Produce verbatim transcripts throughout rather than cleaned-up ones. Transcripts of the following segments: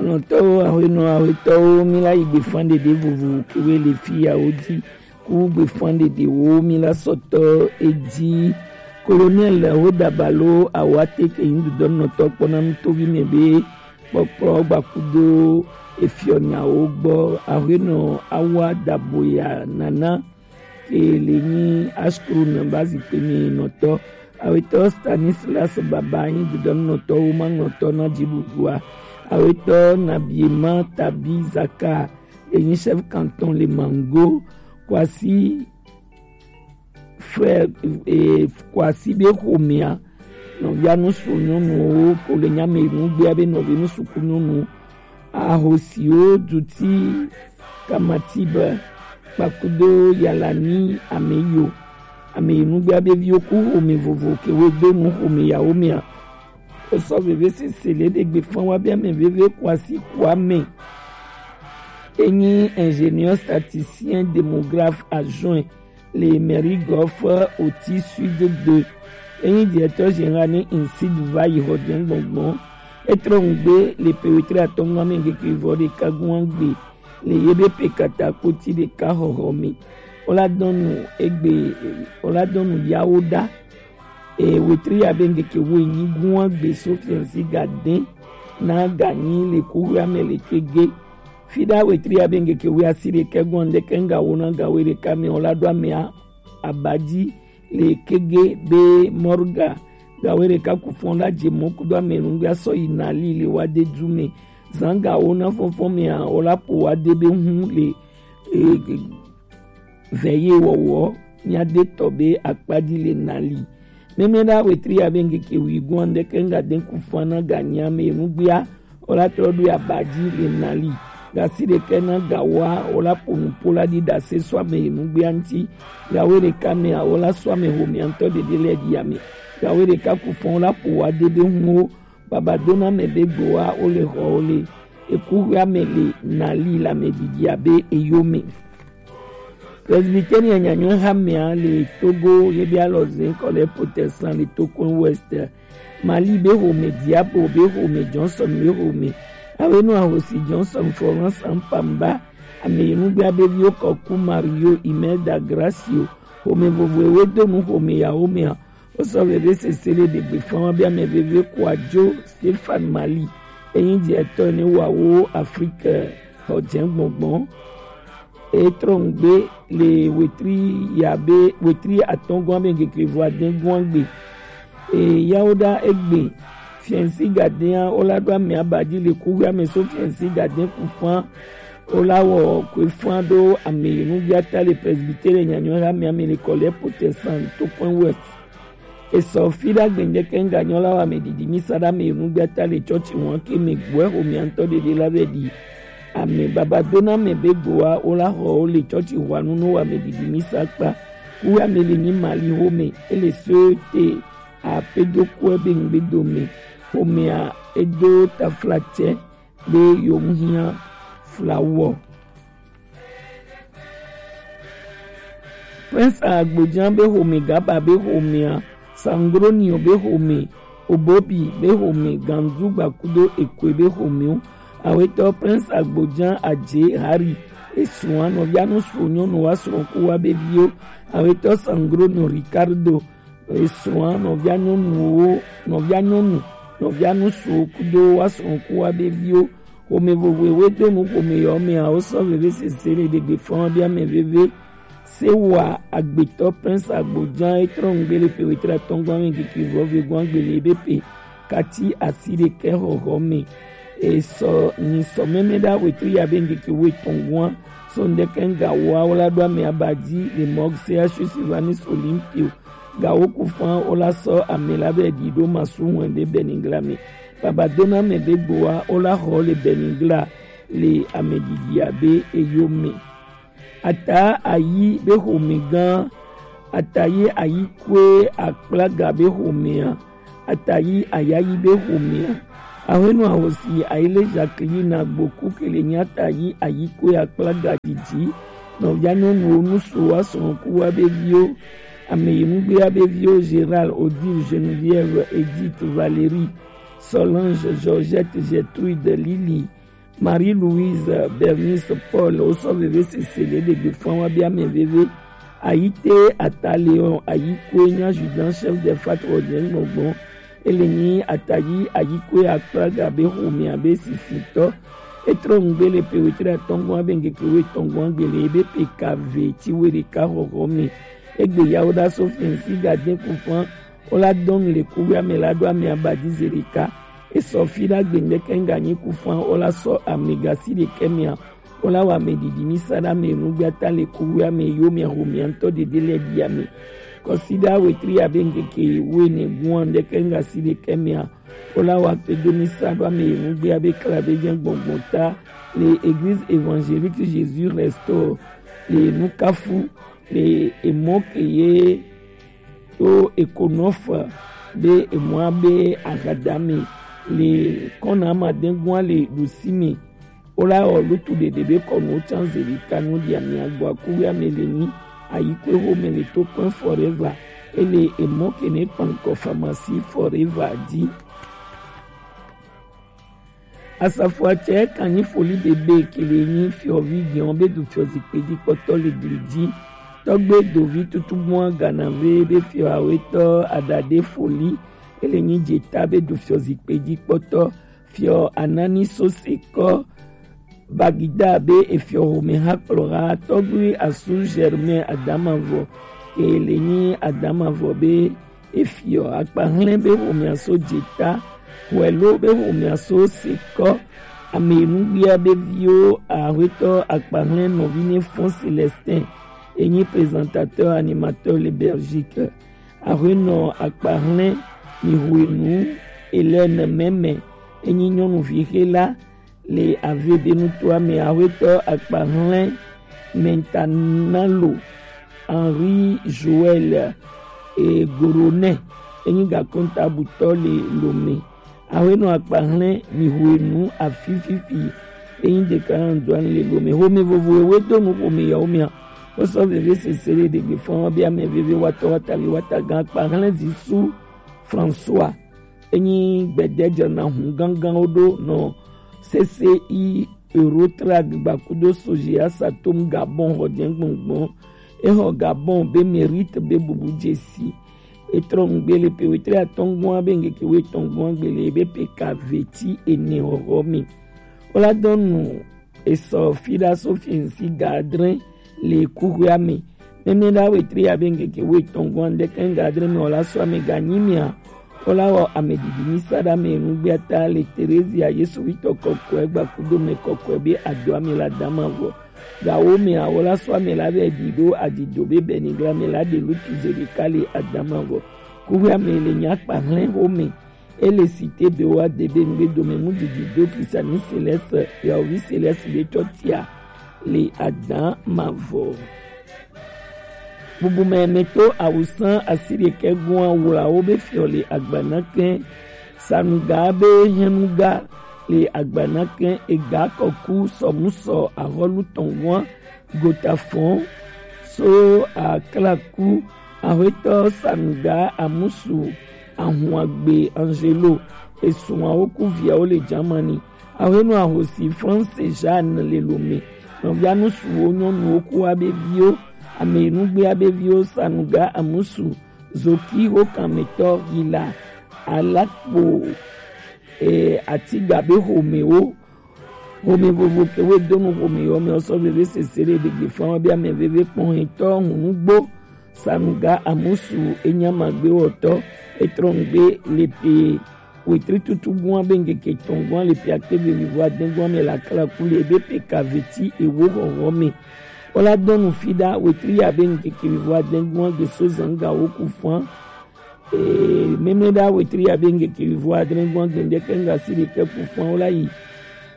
Nɔtɔwo, ahuenɔ ahuetɔwo, mi la yi gbefan ɖeɖe vovo kewe le fi yawo ji. Ku gbefan ɖeɖewo mi la sɔtɔ eji. Colonel Hoda Balo Awate ke yin dudɔnɔtɔ kpɔna nutovi mɛ be kpɔkplɔ gbakudo efiɔ nyawo gbɔ. Ahuenɔ Awa Daboya Nana ke le nyi Ashkru na ba zikpe mi nɔtɔ. Awetɔ Stanislas Baba yin dudɔnɔtɔ wo ma nɔtɔ na ji ɖuɖua. Awetɔ Nabiema Tabi Zaka enyi chef canton le Mango. Kwasi frère, eh, Kwasi be xomea, nɔvia nusu nyɔnuwo ko le nyame nugbea be nɔvi nusuku nyɔnu, ahosiwo duti Kamatibe kpakudo Yalani ameyo, ameyi nugbea be viwo ku xome vovo ke wo do nu xome yawo mea. Osɔ veve sese le ɖe gbe fan wa be ame veve Kwasi Kwame. Enyi ingénieur statisticien démographe adjoint le mairie Golf Oti Sud deux. Enyi directeur général ne INSEED va yi xɔ jɛ gbɔngbɔn. Etrɔ ŋgbe le pe wetri atɔngɔ ame ŋkeke vɔ ɖeka gún agbe le ye be pe kata kpoti ɖeka xɔxɔ me. Wola dɔnu egbe, wola dɔnu yawo ɖa. E wetri ya be ŋkeke wo enyi gún agbe so fiansi ga dɛn na ganyi le kuxuia me le kege. Fiɖa wetri ya be ŋkeke wo asi ɖekɛ gún ŋdɛkɛ ŋga wo na ga wo ɖeka me wola ɖo amea abaji le kege be mɔrga ga wo ɖeka ku fɔn la je mɔ kudo ame nugbe asɔ yi nali le wa de du me. Zan ga wo na fɔnfɔn mea wola po wa de be hun le e, vɛ ye wɔwɔ nya de tɔ be akpaji le nali. Mɛmɛ ɖa wetri ya be ŋkeke wi gún ŋdɛkɛ ŋga de ku fɔn na ganyi ame nugbea wola trɔ ɖo abaji le nali. Gasi ɖekɛ na gawoa wola po nupo la ɖi ɖase sɔ ame nugbea ŋti. Gawo ɖeka mea wola sɔ ame xomea ŋtɔ ɖeɖe lɛ ɖi ame. Gawo ɖeka ku fɔn wola po wa de be hun wo. Baba dona mɛ be gboa wo le xɔ wo le eku hwe ame le nali la mɛ ɖiɖi abe eyo me. Presbyterian nyanyɔe hamea le Togo ye be alɔ zin kɔ le protestant le Tokon West. Mali be xome, Diabo be xome, Johnson be xome. Awe nu ahosi Johnson, Florence Ampamba, ame yi nugbea be viwo kɔ ku Mario, Imelda, Gracio. Xome vovo ewe do nu xome yawo mea. Wosɔ veve sese le ɖegbe fama be ame veve kua jo Stefan Mali. Enyi je etɔ ne wa wo Afrique xɔ jɛ gbɔngbɔn. Etrɔ ŋgbe le wetri ya be wetri atɔngɔn be ŋkeke vo adɛngɔn gbe. E yawo ɖa egbe. Fiɛnsi gadɛa wola ɖo ame abaji le kuxi ame so fiɛnsi gadɛ ku fan. Wola wɔ kue fan ɖo ame yi nugbia ta le presbytere nyanyɔ ha ame ame le kɔ le protestant to point west. Esɔ fi ɖa gbɛndɛ kɛ ŋga nyɔ la wa ame ɖiɖi mi sa ɖa ame yi nugbia ta le tsɔtsi wɔn ke me gbɔɛ xo mia ŋtɔ ɖeɖe la vɛ ɖi. Ame baba dona ame be gboa wola xɔ wo le tsɔtsi hwanu no wa ame ɖiɖi mi sa kpa. Ku ame le nyi mali xo me ele so te apedo kɔe be ŋgbe dome xomea edo taflatsɛ be yewom hiã flawɔ. Prince Agbodza be xome, Gaba be xomea, Sangronio be xome, Obobi be xome, Ganzu Gbakudo Ekwe be xomewo. Awetɔ Prince Agbodza Adze Hari esrɔ̃a nɔvia nu su nyɔnu wa srɔ̃ ku wa be viwo. Awetɔ Sangronio Ricardo esrɔ̃a nɔvia nyɔnuwo, nɔvia nyɔnu, nɔvia nusuwo kudo wa srɔ̃ ku wa be viwo. Xome vovo ewe do nu xome yɔ mea wosɔ veve sese le ɖegbe fɔn wa be ame veve. Se wa agbetɔ Prince Agbodza etrɔ ŋgbe le pe wetri atɔngba me kiki vɔ ve gwan gbe le be pe kati asi ɖekɛ xɔxɔ me. Esɔ nyi sɔ mɛmɛ ɖa wetri ya be ŋkeke wo etɔn gwan. So ŋdɛkɛ ŋga woa wola ɖo ame abaji le mɔg se asu Silvanus Olympio. Gawo ku fan wola sɔ ame la be ɖi ɖo masu hwɛn ɖe Beningla me. Baba dona ame be gboa wola xɔ le Beningla le ame ɖiɖi abe eyo me. Ata ayi be xome gã, ata ye ayi kue akplaga be xomea, ata yi ayayi be xomea. Ahwenu ahosi ayi le Jacqueline Agboku ke le nya ata yi ayi kue akplaga didi. Nɔvia nyɔnuwo nusu wa srɔ̃ ku wa be viwo. Ame yi nugbe wa be viwo Gérald, Odile, Geneviève, Edith, Valérie, Solange, Georgette, Gertrude, Lily, Marie-Louise Bernice Paul, wo sɔ veve sese le ɖegbe fɔn wa bia mɛ veve. Ayite ata Léon, ayi koe nya adjudant chef de fraternité gbɔngbɔn. Ele nyi atayi ayi koe akpla ga be xomɛ abe sisitɔ. Etrɔ nugbe le pe wetre atɔngɔn abe ngeke we tɔngɔn agbele ebe pe kave ti we ɖeka xɔxɔ mi. Egbe yawo da so fɛnsi ga den kufan. Wo la dɔn le kuwe ame la ɖo ame abadi ze ɖeka. Esɔ fi ɖagbe ŋdɛkɛ ŋga nyi kufan wo la sɔ ame gasi ɖekɛ mia. Wo la wa ame ɖiɖi mi sa ɖa ame nugbata le kuwe ame yo mia ho mia ŋtɔ ɖeɖe lɛ ɖi ame. Kɔsi ɖa wetri abe ŋkeke wo ene gua ŋdɛkɛ ŋga si ɖekɛ mia. Wo la wa kpe do mi sa ɖo ame nugbe abe kla be jɛ gbɔngbɔn ta le Église Évangélique Jésus Restaure le Nukafu le emɔ ke ye to ekonɔfa be emɔa be agadame le kɔna amadɛngua le ɖusi me. Wo la wɔ lutu ɖeɖe be kɔnu can zeli kanu ɖi amia gbɔ akuwe ame le nyi ayi kwe ho me le to kpɛn forever. Ele emɔ ke ne kpankɔ pharmacie forever di. Asafoatsɛ kanyi foli bebe kele nyi fiɔvi giɔn be du fiɔ zikpe ji kpɔtɔ le gli ji. Tɔgbe dovi tutugbua ganave be fiɔ awetɔ adade foli ele nyi jeta be du fiɔ zikpe ji kpɔtɔ fiɔ anani sose kɔ bagida be efiɔ home ha kplɔ ha tɔgbe asu Germain adamavɔ kele nyi adamavɔ be efiɔ akpahlɛn be homea so jeta, hwɛlo be homea so sekɔ, ame nugbia be viwo ahwetɔ akpahlɛn nɔvi ne fɔn Celestin, enyi présentateur animateur le Belgique. Ahwenɔ akpahlɛn mi hwenu Hélène Mɛmɛ, enyi nyɔnuvi xe la, le avedenutoa me ahwetɔ akpahlɛn Mentanalo Henri Joël e Goronɛ enyi gakontabutɔ le Lome. Ahwenɔ akpahlɛn mi hwenu afififi enyi dekana doani le Lome. Home vovo ewe do nu home yawo mia. Wosɔ veve sese le ɖegbe fɔn be ame veve watɔ watavi watagan akpahlɛn zisu François. Enyi gbede dzena hun gangan wo ɖo nɔ C C I Eurotrack gbakudo soji asatom Gabon xɔ jɛngbɔngbɔn. Exɔ Gabon be mérite be bubu jesi. Etrɔ nugbe le pe wetre atɔngɔn be ngeke we tɔngɔn gbele be pe ka veti ene xɔxɔ mi. Wola dɔnu esɔ fiɖa so fiɛnsi ga adre le kuxoea me. Mɛmɛɖa wetri abe ŋkeke woetɔn gɔn ɖekɛ ga adre me wola sɔ ame ganyi mia. Wola wɔ ame didi mi sa ɖa me nugbea ta le Terezia Yesu witɔ kɔkɔe gbakudo me kɔkɔe be adɔ ame la dama vɔ. Gawo mea wola sɔ ame la be ɖi ɖo adido be bɛnigla me la ɖe lutu ze ɖeka le adama vɔ. Kuxoea me le nya kpa hlɛn xo me. Ele cité be wa de be ŋgbe dome mu didi do Christiani Céleste, yaovi Céleste be tɔ tia le adan mavɔ. Bubu mɛ me to awusan asiri ke gua wula wo be fiɔ le agbana kɛ. Sanuga be hɛnuga le agbana kɛ ega kɔku sɔmusɔ ahɔlu tɔngua gota fɔn so aklaku ahwetɔ sanuga amusu ahun agbe Angelo esun awo ku viawo le Germany. Ahwenu ahosi France Jeanne le Lome. Nɔvia nusuwo nyɔnuwo ku abe viwo ame nugbe abe viwo sanuga amusu zoki ho kanmetɔ hila alakpo e atiga be homewo. Home vovo ke we donu home yɔ me ɔsɔ veve sese ɖe ɖegbe fã be ame veve kpɔn hetɔ hunugbo sanuga amusu enyama gbe wɔtɔ etrɔngbe le pe wetri tutu gua be ŋkeke tɔn gua le pe akpe ve vivo adɛn gua me la kla ku le be pe kaveti ewo hɔhɔ me. Wola dɔnu fi ɖa wetri ya be ŋkeke vivo adɛn gua gbe so zanga wo ku fã. Ee, mɛmɛ ɖa wetri abe ŋkeke vivo adre gbɔn gbɛndɛ kɛŋga si ɖekɛ ku fɔn wo la yi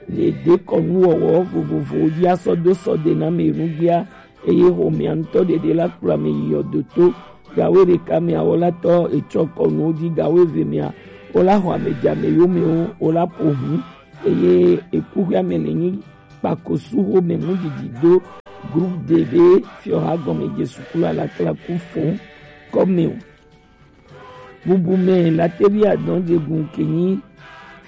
le de kɔnu wɔwɔ vovovowo dzi asɔ do sɔ de na me nugbea eye xomea ŋutɔ ɖeɖe la kplɔ ame yi yɔdo to gawo ɖeka me awɔlatɔ etsɔ kɔnuwo dzi gawo eve mea wo la xɔ ame dza me yomewo wo la ƒo hu eye ekuxea me le nyi kpakosu xome mu didi do groupe de be fiɔha gɔme dze sukulu alakla ku fɔn kɔme o. Bubu mɛ latevi adɔn jegun ke nyi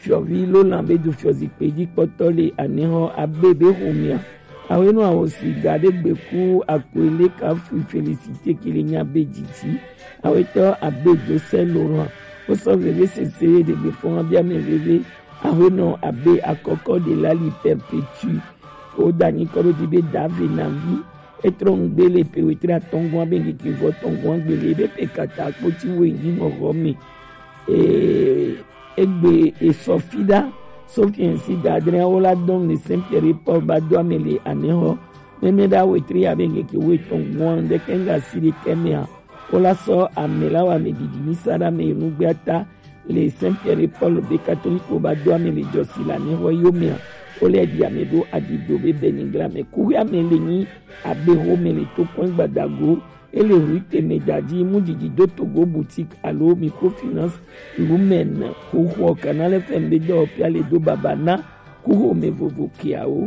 Fiɔvi Lolan be do fiɔ zikpui dzi kpɔtɔ le anehɔ abe be homea. Awe no awo si ga de gbeku akwele ka fui Félicité ki le nya be didi. Awe tɔ abe do sɛ Laurent. Wo sɔ veve sese de gbe fɔn bia me veve. Awe no abe akɔkɔ de la li perpétue. O da nyi kɔ do di be dave na vi. Etrɔ ŋgbe le pe wetre atɔngɔn abe ŋkeke vɔ tɔngɔn gbele be pe kata kpoti wo yi ŋɔgɔ me. Ee, egbe esɔ fi ɖa. Sofiɛnsi gadre wo la dɔn le Saint Pierre Paul ba do ame le anehɔ. Mɛmɛ ɖa wetre abe ŋkeke wo etɔn gbɔn ɖe kɛŋga si ɖe kɛmɛa. Wo la sɔ ame la wa ame didi mi sa ɖa me nugbe ata le Saint Pierre Paul be katoliko ba do ame le jɔsi la ne hɔ yo mea. Wo le di ame ɖo adido be benigra me kuhe ame le nyi abe ho me le to kɔn gbadago. Ele hu teme dadi mu didi do togo boutique alo microfinance lumen ho ho kanale fɛn be dɔ pia le do baba na kuho me vovo kiawo.